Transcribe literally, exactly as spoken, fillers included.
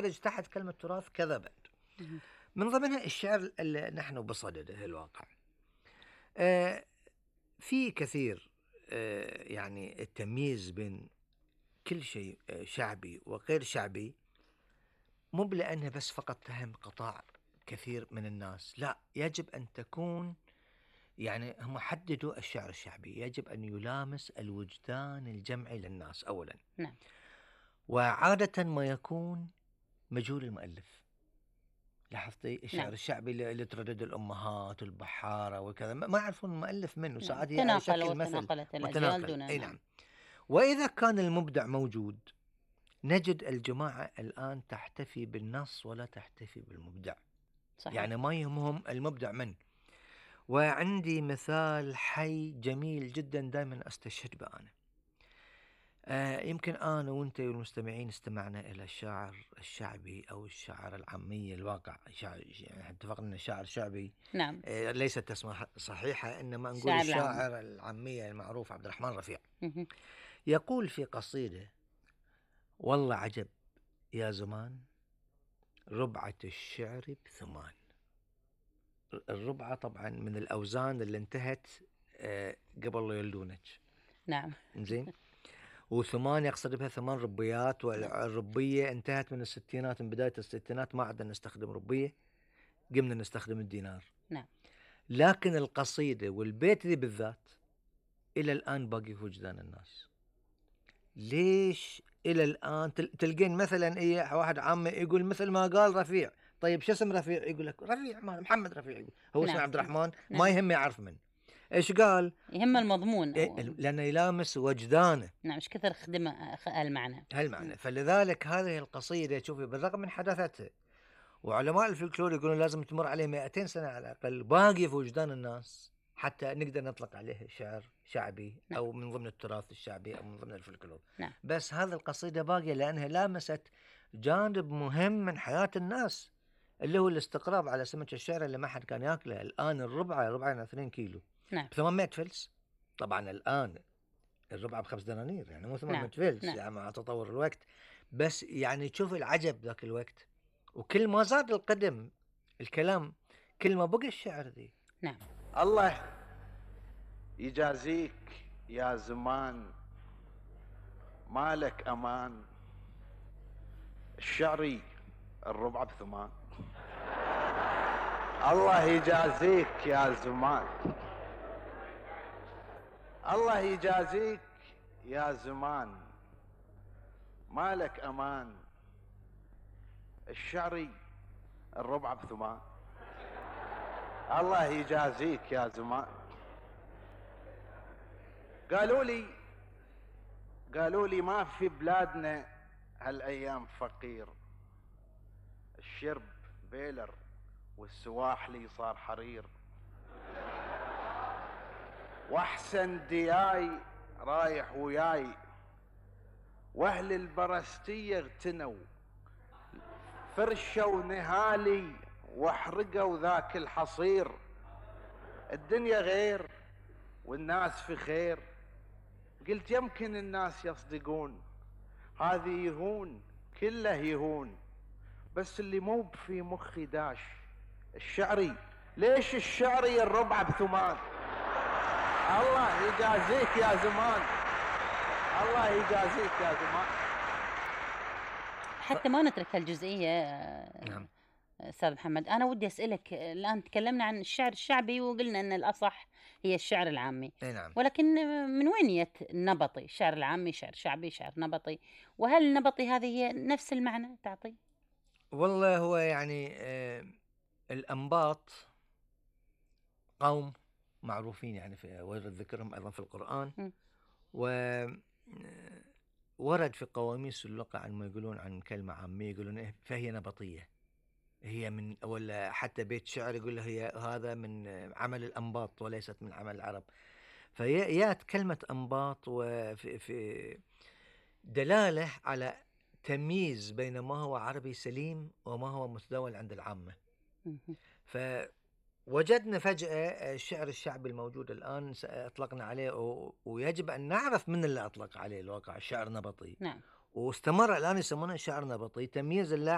درج تحت كلمة تراث كذا بعد. من ضمنها الشعر اللي نحن بصدده الواقع. آه في كثير آه يعني التمييز بين كل شيء آه شعبي وغير شعبي، مو لأنه بس فقط تهم قطاع كثير من الناس، لا، يجب أن تكون يعني هم حددوا الشعر الشعبي يجب أن يلامس الوجدان الجمعي للناس أولا. نعم. وعادة ما يكون مجهول المؤلف. لاحظتي الشعر نعم. الشعبي اللي اللي تردد الأمهات والبحارة وكذا ما يعرفون المؤلف منه، نعم. ساعات هي على تناقل شكل مثل وتناقلت الأجيال متناقل. دون. أي نعم. نعم. وإذا كان المبدع موجود نجد الجماعة الآن تحتفي بالنص ولا تحتفي بالمبدع. صحيح. يعني ما يهمهم المبدع من. وعندي مثال حي جميل جدا دائما أستشهد به أنا. آه يمكن أنا وأنت والمستمعين استمعنا إلى الشعر الشعبي أو الشعر العامي الواقع. شعر يعني اتفقنا أن الشعر الشعبي نعم. آه ليست تسمية صحيحة، إنما نقول الشعر العامي. الشاعر العامي المعروف عبد الرحمن رفيع. مهم. يقول في قصيدة: والله عجب يا زمان ربعة الشعر بثمان. الربعة طبعا من الأوزان اللي انتهت آه قبل لا يولدونك. نعم. زين. وثمان يقصد بها ثمان ربيات، والربية انتهت من الستينات، من بداية الستينات ما عدنا نستخدم ربية، قمنا نستخدم الدينار. نعم. لكن القصيدة والبيت ذي بالذات إلى الآن باقي في وجدان الناس. ليش إلى الآن تلقين مثلا إيه واحد عام يقول مثل ما قال رفيع، طيب شو اسم رفيع؟ يقول لك رفيع محمد رفيع، يقول هو نعم. اسمه عبد الرحمن. نعم. ما يهم يعرف من إيش قال، يهم المضمون إيه أو... لأنه يلامس وجدانه. نعم. مش كثر خدمة المعنى. هالمعنى. فلذلك هذه القصيدة شوفي بالرغم من حداثتها وعلماء الفلكلور يقولون لازم تمر عليه مئتين سنة على الأقل باقي في وجدان الناس حتى نقدر نطلق عليه شعر شعبي. نعم. أو من ضمن التراث الشعبي أو من ضمن الفلكلور. نعم. بس هذه القصيدة باقية لأنها لامست جانب مهم من حياة الناس اللي هو الاستقراب على سمك الشعر اللي ما حد كان يأكله. الآن الربعة ربعنا اثنين كيلو نعم. بثمانمائة فلس. طبعا الآن الربع بخمس دنانير، يعني مو ثمانمائة نعم. فلس. نعم. يعني مع تطور الوقت. بس يعني تشوف العجب ذاك الوقت، وكل ما زاد القدم الكلام كل ما بقى الشعر ذي. نعم. الله يجازيك يا زمان مالك أمان الشعري الربع بثمان. الله يجازيك يا زمان، الله يجازيك يا زمان مالك أمان الشعري الربع بثمان. الله يجازيك يا زمان. قالوا لي قالوا لي ما في بلادنا هالأيام فقير، الشرب بيلر والسواحلي صار حرير، واحسن دياي رايح وياي، واهل البرستية اغتنوا فرشوا نهالي واحرقوا ذاك الحصير. الدنيا غير والناس في خير. قلت يمكن الناس يصدقون هذه يهون كله يهون، بس اللي مو في مخي داش الشعري. ليش الشعري الربع بثمان؟ الله يجازيك يا زمان، الله يجازيك يا زمان. حتى ما نترك هالجزئية. نعم. أستاذ محمد، أنا ودي أسألك، الآن تكلمنا عن الشعر الشعبي وقلنا أن الأصح هي الشعر العامي. نعم. ولكن من وين يت النبطي؟ الشعر العامي شعر شعبي شعر نبطي، وهل النبطي هذه هي نفس المعنى تعطي؟ والله هو يعني آه الأنباط قوم معروفين يعني في ورد ذكرهم أيضا في القرآن. م. و ورد في قواميس اللغة عن ما يقولون عن كلمة عامية يقولون إيه فهي نبطية، هي من ولا حتى بيت شعر يقول هي هذا من عمل الأنباط وليست من عمل العرب. فيات كلمة أنباط وفي في دلالة على تمييز بين ما هو عربي سليم وما هو متداول عند العامة. فوجدنا فجأة الشعر الشعبي الموجود الآن أطلقنا عليه، ويجب أن نعرف من اللي أطلق عليه الواقع الشعر نبطي. نعم. واستمر الآن يسمونه شعر نبطي، تمييز الله